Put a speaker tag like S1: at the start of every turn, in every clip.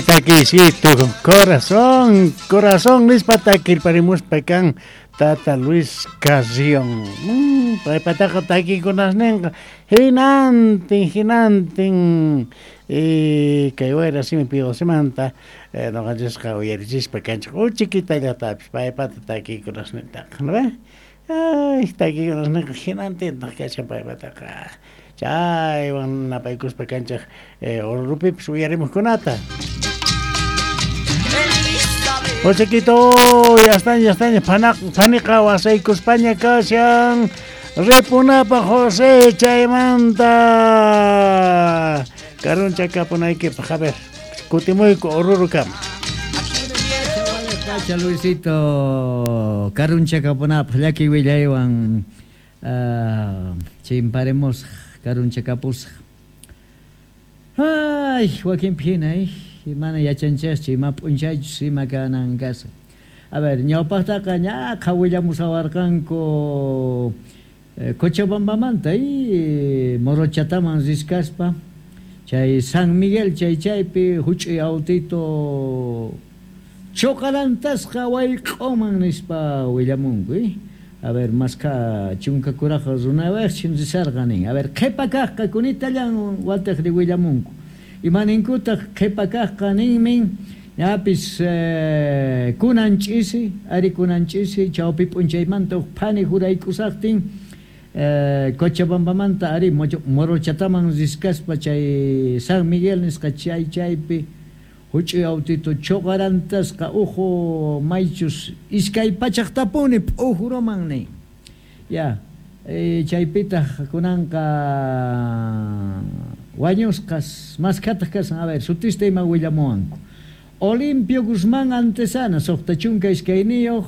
S1: Takisito, corazón, corazón nispa takirparimuspa kan Tata Luis Carrión. Paypataqa takikunasninqa hinantin, hinantin kay wayra simi pidosimanta noqanchisqa uyarichispa kanchik uchikitallatapis paypata takikunasnintaqa, ¿no ve? Ay, takikunasninqa hinantintaq kashan paypataqa. Chaywan napaykuspa kanchik Orurupipis uyarimuqkunata. Josequito, ya están, ya están, paniqa wasaykuspaña kashan. Ripunapaq José chaymanta. Karunchakapunaykipaq, a ver, kutimuyku Orurukama.
S2: Kacha Luisito, karunchakapunapaq llaki willaywan chimparemos karunchakapusaq. Ay, wakinpi hina, mana yachanchikchu ima p'unchaychus ima kanan kasqa. A ver, ñawpaqtaqa ñaqha willamusawarqanku Cochabambamanta Morochataman riskaspa chay San Miguel chay chaypi huch'uy autito choqarantasqa wayq'uman nispa willamunku. A ver, maskha chunka kuraqa runawaqchin risarqa nin. A ver, qhipa kaqqa kunitallan watiqri willamunku. Ima ninkutaq qhipa kaqqa ninmin ñapis kunan ch'isi, ari kunan ch'isi chawpi p'unchaymanta huk phani juraykusaqtin Cochabambamanta ari Morochataman riskaspa chay San Miguel nisqa chay chaypi huch'uy autito choqarantasqa uhu maychus iskay pachaqtapuni p'ujuruman nin. Ya, chaypitaq kunanqa wañusqas maskhataq kasan, a ver, sutista ima willamuwanku. Olimpio Guzmán Antesana, suqta chunka iskayniyuq,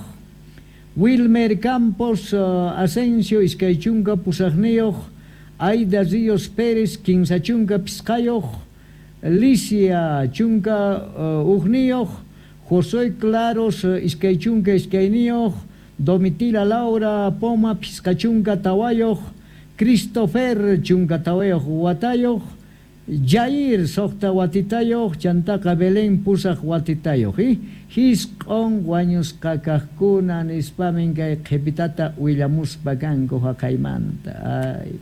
S2: Wilmer Campos Asensio iskay chunka pusaqniyuq, Aida Ríos Pérez kinsa chunka pisqayuq, Licia chunka ujniyuq, José Claros iskay chunka iskayniyuq, Domitila Laura Poma pisqa chunka tawayuq, Christopher chunka tawayuq watayuq, Jair suqta watitayuq, chantaqa Belén pusaq watitayuq. Hisq'on wañusqa kaqkuna nispamin kay qhipitata willamuspa kanku haqaymanta. Ay,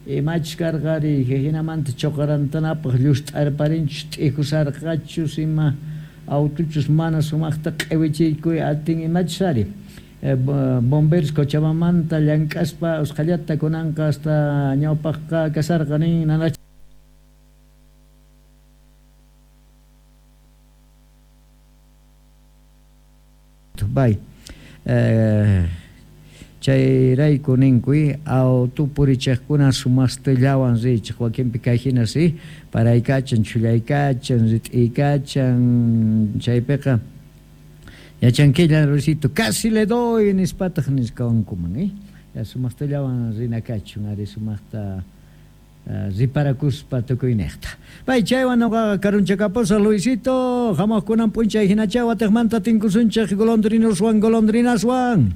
S2: imachus karqari hinamanta choqarantanapaq llust'arparinchus t'ikusarqachus ima autuchus mana sumaqta q'iwichiykuy atin imachus ari. Bomberos Cochabambamanta llank'aspa usqhallata kunanqa hasta ñawpaqqa kasarqa nin nanach. Bay. Chayrayku ninkuy auto purichiqkuna sumastillawan richiq wakinpi kay hina si paraykachan chhullaykachan rit'iykachan chaypiqa yachankilla Luisito casi le doy nispataq nisqawankuman ya sumaqtallawan rinakachun ari sumaqta riparakuspa tukuyniqta. Bay chaywan noqaqa karunchakapusa Luisito hamuqkunan p'unchay hinacha watiqmanta tinkusunchik golondrinoswan golondrinaswan.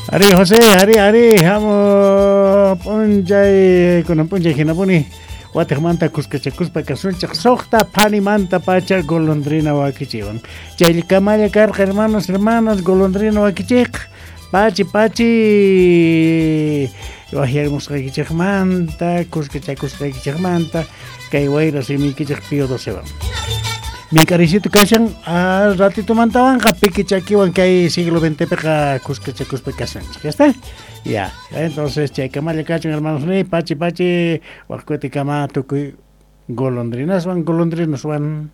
S1: Ari José, ari ari hamu p'unchay kunan p'unchay hinapuni watiqmanta kuskachakuspa kasunchik suqta phanimanta pacha golondrina wakichiwan. Chaykamalla karqa hermanos, hermanas golondrina wakichiq pachi pachi wajyarimusqaykichikmanta kuskachakusqaykichikmanta kay wayra simiykichik Pío Docewan. Minkarisito kashan al ratitomantawanqa piki chakiwan kay siglo XX piqa kuskachakuspa kasanchik. ¿Ya está? Ya. Entonces chaykamalla kachun hermanos ni pachi pachi waqkutikama tukuy golondrinaswan golondrinoswan.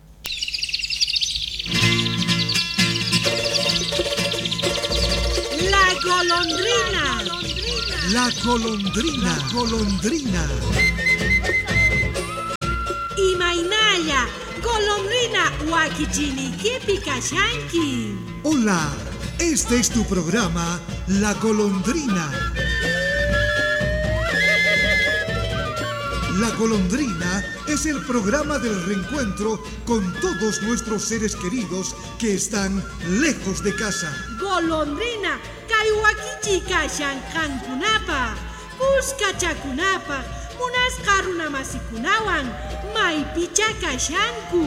S3: La golondrina.
S4: La golondrina, golondrina.
S3: Imaynalla, golondrina wakichinikipi kashanki.
S4: Hola, este es tu programa, La Golondrina. La Golondrina es el programa del reencuentro con todos nuestros seres queridos que están lejos de casa.
S3: Golondrina, kay wakichi kashan qankunapaq, kuskachakunapaq, munasqa runamasikunawan, Maypichá kashanku.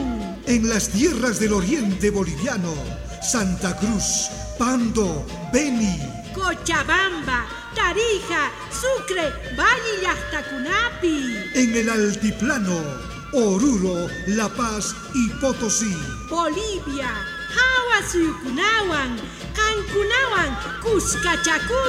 S4: En las tierras del oriente boliviano, Santa Cruz, Pando, Beni.
S3: Cochabamba, Tarija, Sucre, Valle llaqtakunapi.
S4: En el altiplano, Oruro, La Paz y Potosí.
S3: Bolivia, hawa suyukunawan, qankunawan kuskachakusun.